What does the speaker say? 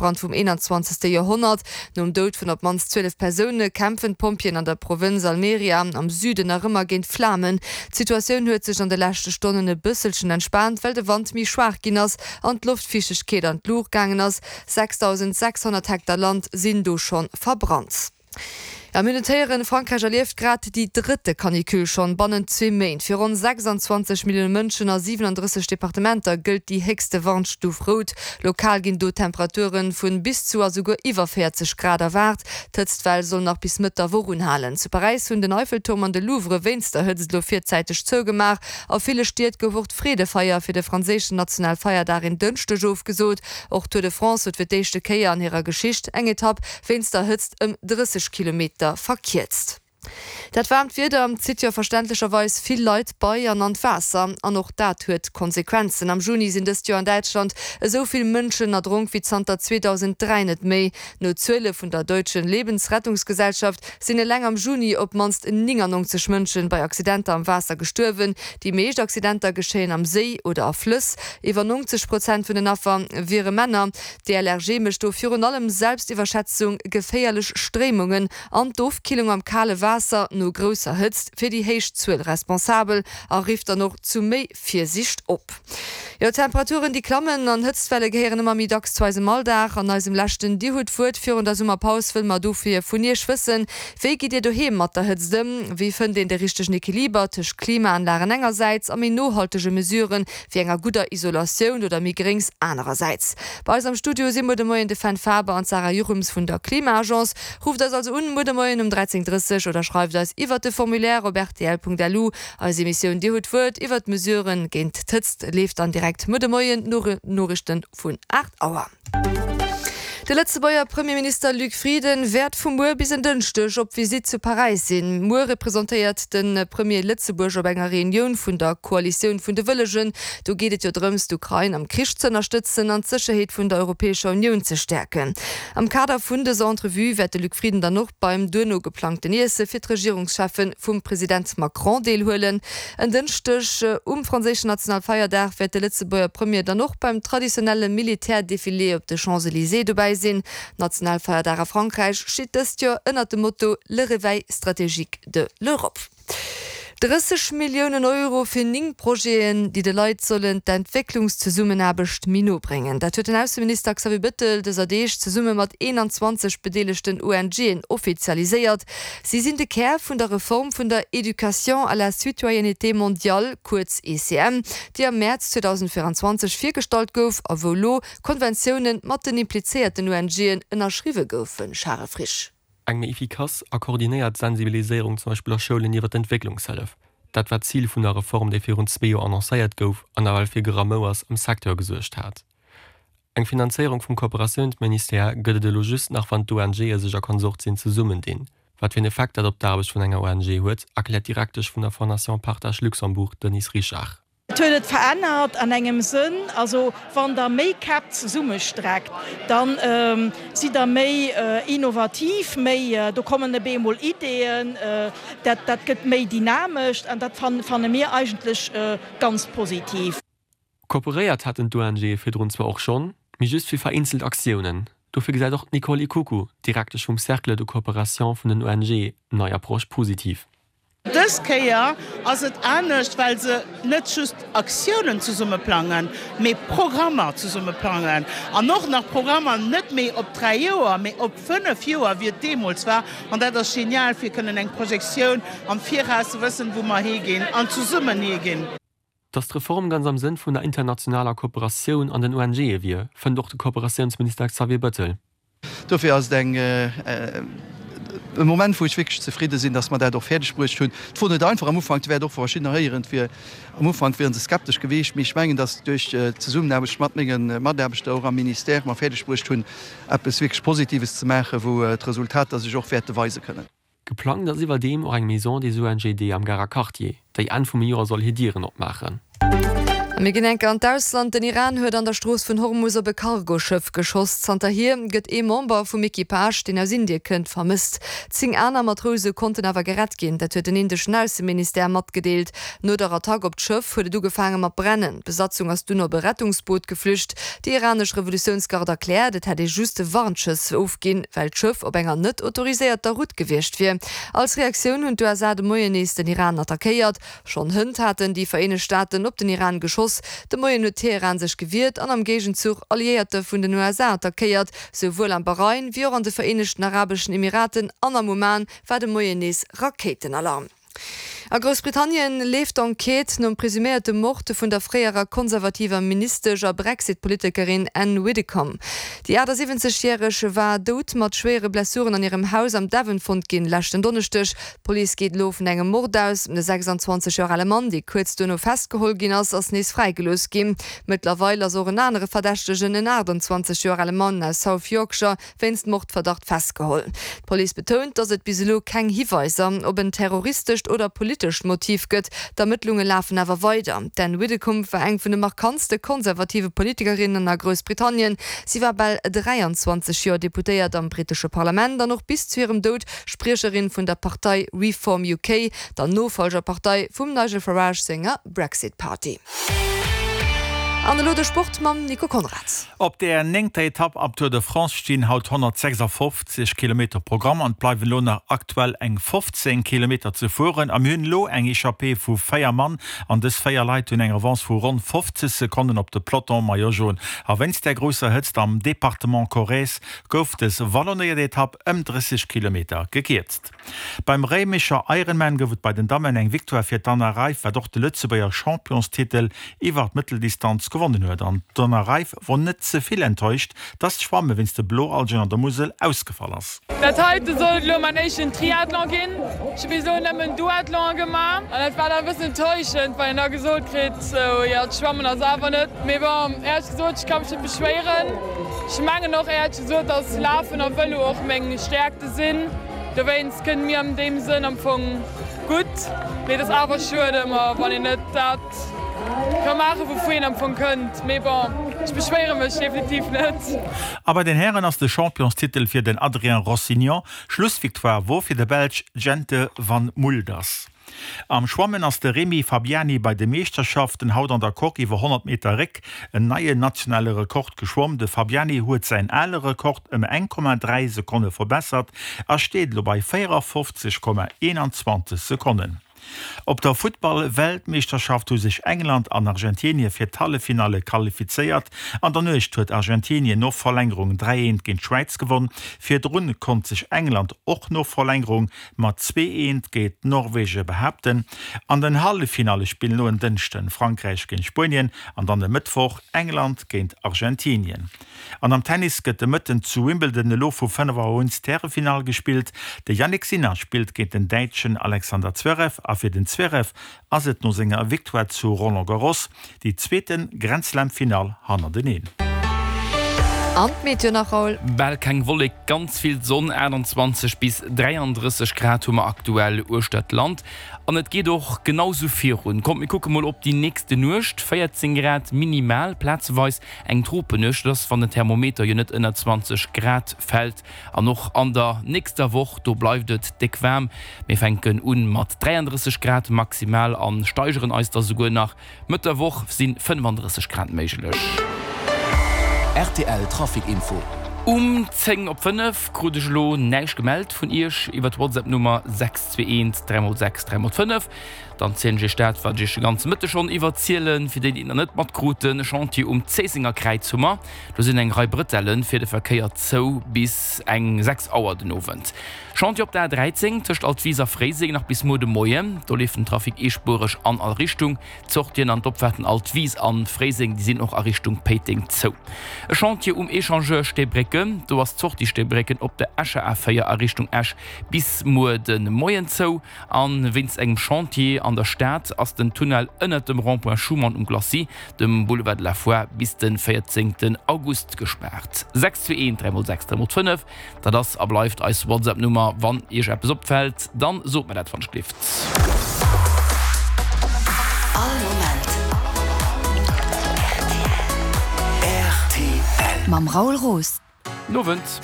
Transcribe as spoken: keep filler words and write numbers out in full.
Bëschbrand vum eenanzwanzegste Joerhonnert. Nom Doud vun op d'mannst zwielef Persoune kämpfen d'Pompjeeën an der Provënz Almeria am Süden nach ëmmer géint d'Flamen. D'Situatioun huet sech an de leschte Stonnen e bësselchen entspaant, well de Wand méi schwaach ginn ass an d'Loftfiichtegkeet an d'Luucht gaangen ass. sechsdausendsechshonnert Hektar Land sinn do schonn verbrannt. Ja, mir notéieren, Frankräich erlieft grad déi drëtte Canicule schonn bannent zwee Méint. Fir ronn sechsanzwanzeg Millioune Mënschen a siwenandrësseg Departementer gëllt déi héchste Warnstuf rout. Lokal ginn do Temperature vu bis zu a souguer iwwer véierzeg Grad erwaart. D'Hëtztwell soll nach bis Mëtt der Woch unhalen. Zu Paräis hunn den Eiffelturm an de Louvre wéinst der Hëtzt elo virzäiteg zougemaach. A ville Stied gouf och d'Freedefeier fir de franséischen Nationalfeierdag en Dënschdeg ofgesot. Och d'Tour de France huet fir d'éischte Kéier an hirer Geschicht eng Etapp wéinst der Hëtzt ëm drësseg Kilometer verkierzt. Dat waarmt Wieder zitt jo verständlecherweis vill Leit bei an an d'Waasser. An och dat huet Konsequenzen. Am Juni sinn dëst Joer an Däitschland esou vill Mënschen erdronk wéi zanter zweedausenddräi net méi. No Zuele vun der Deutschen Lebensrettungsgesellschaft sinn eleng am Juni op d'mannst néngannonzeg Mënschen bei Accidenter am Waasser gestuerwen. Déi meescht Accidenter geschéien am Séi oder a Flëss. Iwwer nonzeg Prozent vun den Affer wiere Männer. D'-D L R G mécht do virun allem Selbstiwwerschätzung, geféierlech Stréimungen an d'Ofkillung am kale Waasser no grousser Hëtzt fir déi héich Zuel responsabel a rifft dann och zu méi Virsiicht op. Jo, Temperaturen déi klammen an Hëtztwelle gehéieren ëmmer méi dacks zu eisem Alldag. An eisem leschten Dir hutt d'Wuert virun der Summerpaus wëlle mer dofir vun Iech wëssen, Wéi gitt Dir doheem mat der Hëtzt ëm? Wéi fënnt een de richtegen Equiliber tëscht Klimaanlagen engersäits a méi nohaltege Mesuren, wéi enger gudder Isolatioun oder méi Gréngs anerersäits? Bei eis am Studio si muer de Moien de Fenn Faber an d'Sarah Juchems vun der Klima-Agence. Rufft eis also un muer de Moien um dräizéng drësseg oder schreift eis iwwert de Formulaire op rtl Punkt L U. Eis Emissioun Dir hutt d'Wuert iwwert d'Mesuren géint d'Hëtzt leeft dann direkt muer de Moien no de Noriichten vun aacht Auer. De Lëtzebuerger Premierminister Luc Frieden wäert vu muer bis en Dënschdeg op Visitt zu Paräis sinn. Muer representéiert de Premier Lëtzebuerg op enger Reunioun vun der Koalitioun vun de Wëllegen. Do geet et jo drëms, d'Ukrain am Krich ze ënnerstëtzen an d'Sécherheet vun der Europäescher Unioun ze stäerken. Am Kader vun dëser Entrevue wäert de Luc Frieden dann och beim duerno geplangten Iesse fir d'Regierungscheffe vum President Macron deelhuelen. En Dënschdeg um franséischen Nationalfeierdag wäert de Lëtzebuerger Premier dann och beim traditionelle Militärdefilé op de Champs-Elysées dobäi sinn. Nationalfeierdag a Frankräich steet dëst Joer ënnert dem Motto Le réveil stratégique de l'Europe. Drësseg Milliounen Euro fir néng Projeten, déi de Leit sollen d'Entwécklungszesummenaarbecht méi no bréngen. Dat huet den Ausseminister Xavier Bettel dëser Deeg zesumme mat eenanzwanzeg bedeelegten O N G'en offizialiséiert. Si sinn de Kär vun der Reform vun der Éducation à la citoyenneté mondiale, kuerz E C M, déi am Mäerz zweedausendvéieranzwanzeg virgestallt gouf a wou lo Konventioune mat den implizéierten O N G'en ënnerschriwwe goufen. Charel Frisch. Eng méi efficace a koordinéiert Sensibiliséierung zum Beispill a Schoulen iwwer d'Entwécklungshëllef, dat war d'Zil vun der Reform, déi virun zwee Joer annoncéiert gouf an nawell fir Geramouers am Secteur gesuergt hat. Eng Finanzéierung vum Kooperatiounsministère gëtt et elo just nach wann d'O N G'e sech a Konsortien zesummendinn. Wat fir en Effekt dat op d'Aarbecht vun enger O N G huet, erkläert d'Direktesch vun der Fondation Partage Luxembourg, Denise Richard. Et huet et verännert an engem Sënn, also wann der méi Käpp zesummestreckt, dann sidd der méi innovativ, méi, do kommen op eemol Ideeën, dat dat gëtt méi dynamesch an dat fanne mir eigentlech ganz positiv. Kooperéiert haten d'O N G'e virdrun zwar och schonn, mee just fir vereenzelt Aktiounen. Dofir gesäit och d'Nicole Ikuku, Direktesch vum Cercle de coopération vun den O N G'en, nei Approche positiv. Dës Kéier ass et anescht, well se net just Aktiounen zesumme plangen, mee Programmer zesumme plangen. An och nach Programmer net méi op dräi Joer, mee op fënnef Joer, wéi et deemools war. An dat ass genial, fir kënnen eng Projektioun am Viraus ze wëssen, wou mer higinn an zesummen higinn. Datt d'Reform ganz am Sënn vun der internationaler Kooperatioun an den O N G'e wier, fënnt och de Kooperatiounsminister Xavier Bettel. Dofir ass et eng e Moment, wou ech wierklech zefridde sinn, datt mer dat och fäerdeg bruecht hunn. Et wor net einfach am Ufank, et wäert och verschiddener héieren, et wier am Ufank wiere se skeptesch gewiescht, mee ech mengen, datt duerch d'Zesummenaarbecht mat menge Mataarbechter och am Ministère mer fäerdeg bruecht hunn, eppes wierklech Positives ze maachen, wou d'Resultater sech och wäerte weise kënnen. Geplangt ass iwwerdeem och eng Maison des O N G D am Garer Quartier, déi Enn vum Joer soll hir Dieren opmaachen. A mir ginn enke an d'Ausland. Den Iran huet an der Strooss vun Hormus op e Cargoschëff geschoss. Zanterhier gëtt ee Member vum Equipage, deen aus Indie kënnt, vermësst. Zéng aner Matrouse konnten awer gerett ginn, dat huet den indeschen Ausseministère matgedeelt. No der Attack op d'Schëff huet et ugefaange mat brennen. D'Besatzung ass dunn op e Rettungsboot geflücht. Déi iranesch Revolutiounsgard erkläert, et hätt ee just Warnschëss ofginn, well d'Schëff op enger net autoriséierter Route gewiescht wier. Als Reaktioun hunn d'USA de Moien nees den Iran attackéiert. Schonn hënt haten déi Vereenegt Staaten op den Iran geschoss. De Moien huet Teheran sech gewiert an am Géigenzuch Alliéierte vun den USA attackéiert. Souwuel am Bahrain wéi och an de Vereenegten Arabeschen Emiraten an am Oman war de Moien nees Rakéitenalarm. A Groussbritannien leeft d'Enquête nom presuméierte Mord vun der fréierer konservativer Ministesch a Brexit-Politikerin Anne Widdecombe. Déi achtasiwwenzeg järeg war dout mat schwéiere Blessuren an hirem Haus am Devon fonnt ginn, leschten Donneschdeg. D'Police geet elo vun engem Mord aus. De sechsanzwanzeg Joer ale Mann, dee kuerz duerno festgeholl ginn ass, ass nees fräigelooss ginn. Mëttlerweil ass och en anere Verdächtegen, en achtanzwanzeg Joer ale Mann aus South Yorkshire, wéinst Mordverdacht festgeholl. D'Police betount, datt et bis elo keng Hiweiser op en terroristescht oder politescht Motiv gëtt. D'Ermëttlunge lafen awer weider. D'Anne Widdecombe war eng vun de markantste konservative Politikerinnen a Groussbritannien. Si war bal dräianzwanzeg Joer Deputéiert am brittesche Parlament an och bis zu hirem Doud Spriecherin vun der Partei Reform U K, der Nofollgerpartei vum Nigel Farage senger Brexit Party. An elo de Sport mam Nico Conrad. Op der néngter Etapp am Tour de France stinn haut honnertsechsafofzeg Kilometer Programm an et bleiwen elo nach aktuell eng fofzéng Kilometer ze fueren. A mir hunn elo eng Echappée vu véier Mann an dës véier Leit hunn eng Avance vu ronn fofzeg Sekonnen op de Peloton Maillot Jaune. A wéinst der grousser Hëtzt am Departement Corrèze gouf dës wallonéiert Etapp ëm drësseg Kilometer gekierzt. Beim Réimecher Ironman gouf et bei den Dammen eng Victoire fir d'Anna Reiff, wat och de Lëtzebuerger Championstitel iwwer d'Mëtteldistanz gewonnen huet. An d'Anna Reiff wor net ze vill enttäuscht, dass d'Schwamme wéinst de Bloalgen an der Musel ausgefall ass. Dat heite sollt lo mäin éischten Triathlon ginn. Ech hu bis elo nëmmen Duathlon gemaach an dat war dann e bëssen enttäuschend, well een da gesot kritt, sou, jo, d'Schwammen ass awer net. Mee bon, éierlech gesot, ech ka mech net beschwéieren. Ech mengen och éierlech gesot, dass Lafen a Vëlo och meng Stäerkte sinn. Dowéinst kënnt mir an deem Sënn am Fong gutt. Mee et ass awer schued ëmmer, wann een net dat ka maachen, wouvu een am Fong kënnt. Mee bon, ech beschwéiere mech definitiv net. A bei den Hären ass de Championstitel fir den Adrien Rossignon, Schlussvictoire wor fir de Belsch Jente Van Mulders. Am Schwammen ass de Rémi Fabiani bei de Meeschterschaften haut an der Coque iwwer honnert Meter Réck en neien nationale Rekord geschwomm. De Fabiani huet säin ale Rekord ëm eng Komma dräi Sekonne verbessert a steet elo bei véierafofzeg Komma eenanzwanzeg Sekonnen. Op der Futtball-Weltmeeschterschaft hu sech England an Argentinie fir d'Halleffinalle qualifizéiert. An der Nuecht huet Argentinien no Verlängerung dräi eent géint d'Schwäiz gewonn. Virdrun konnt sech England och no Verlängerung mat zwee eent géint Norwege behaapten. An den Halleffinalle spillen elo en Dënschden Frankräich géint Spuenien an dann e Mëttwoch England géint Argentinien. An am Tennis gëtt de Mëtten zu Wimbledon elo vu fënnef Auer un d'Härefinall gespillt. De Jannik Sinner spillt géint den Däitschen Alexander Zverev a fir den Zverev ass et no senger Victoire zu Roland Garros déi zweete Grand-Slam-Finall hannerteneen. An d'Meteo nach, Raoul? Bal keng Wollek, ganz vill Sonn, achttanzwanzeg bis dräiandrësseg Grad hu mer aktuell uechter d'Land. An et geet och genau sou virun. Kommt mir kucke mol op déi nächste Nuecht, véierzéng Grad minimal, plazeweis eng Tropennuecht, dat ass wann den Thermometer jo net ënner zwanzeg Grad fält. An och an der nächster Woch, do bleift et déck waarm. Mir fänken un mat dräiandrësseg Grad maximal a steigeren eis da souguer nach. Mëtt der Woch si fënnefandrësseg Grad méiglech. Rtl Trafic Info. Um zéng op fënnef krut ech elo näischt gemellt vun iech iwwer d'Whatsapp Nummer sechs zwee eent dräi mol sechs dräi mol fënnef. Dann zielen ech iech dat wat ech iech de ganze Mëtteg schonn iwwerzielen. Fir déi déi et nach net matkruten, e Chantier um Zéissenger Kräiz hu mer. Do sinn eng Rei Brëtelle fir de Verkéier zou bis eng sechs Auer den Owend. Chantier op der A dräizéng tëscht Altwis a Fréiseng nach bis muer de Moien. Do leeft den Trafic eespuereg an all Richtung. D'Sortien an d'Opfaarten Altwis an Fréiseng, déi sinn och a Richtung Péiteng zou. E Chantier um Echangeur Steebrécken, do ass d'Sortie Steebrécken op der Escher A véier a Richtung Esch bis muer de Moien zou. A wéinst engem Chantier an der Stad ass den Tunnel ënnert dem Rond-point Schuman um Glacis, dem Boulevard de la Foire, bis de véierzéngten August gespaart. sechs zwee eent dräi mol sechs dräi mol fënnef, dat ass a bleift eis WhatsApp-Nummer. Wann Iech eppes opfält, dann sot mer dat wann ech gelift. All Moment Mam Raoul Roos. Nowend.